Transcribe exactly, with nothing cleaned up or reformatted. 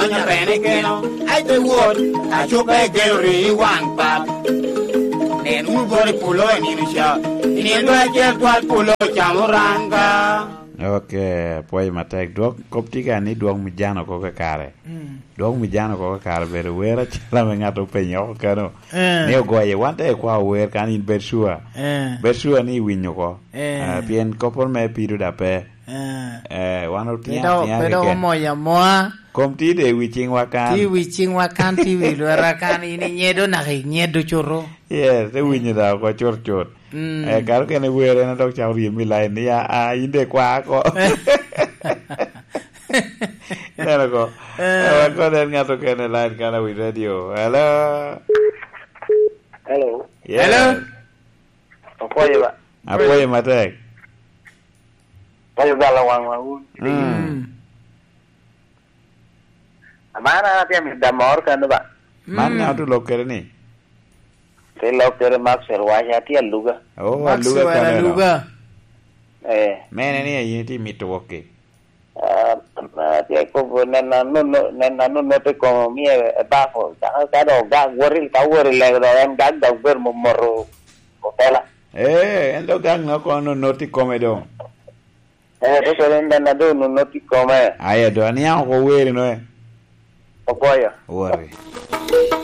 Nya bene keno, ai te wot, acuba egeno ri i waŋ pap. Nen wunu bot i polo i nino ca, i nino dwe acel twal polo ocamo ranga. Ok, apwoyo matek. Dwok kop tye ka ni dwok mi jano oko kakare. Mm. Dwok mi jano oko kakare bedo wer acel ame ŋat openyo oko kano. Eh. Ni ogoye, wan te kwa ower kan in bed sure. Eh. Bed sure ni iwinyo oko. Eh. Ah, pien kopporo me pido da pe. Eh. Eh, wan otino Pe dok, atina pe dok keken. Omoyo amoa. Kom tye de i wi ciŋwa kan. Tye i wi ciŋwa kan, tye i wi lweta kan, in inyedo naka inyedo cuto. Yes, te winyo da oko cut cut. Mm. Eh, kare okene wer en dok cako ryem i line ni, "Ah, ah, in de kwa oko." Neno ko. Eh. Eh, wan kod en ŋat okene line kan awi radio. Hello? Hello? Yes. Hello? Apwoyo ba. Apwoyo matek. Apwoyo gala waŋwa wun. Mm. Mm. Aman an atye amito da mor kano ba. Man Mm. ŋa ote lok kede ni? Te lok kede Maxwell Wacha, atye aluga. Oh, Maxwell aluga kano eno. Aluga. Eh. Mene ni ayin itye mito wok ki? Ah, atye kobo nena nono, nena nono te komo mie e bako. Ka, ka dok gak wot i, ka wot i lego dok en gak dok bedo momoto opela. Eh, en dok gak no kono nono te kome dong. Eh, to kede nena dong nono te kome. Aye, do aniang oko weri no, eh. Ogoyo. Wori.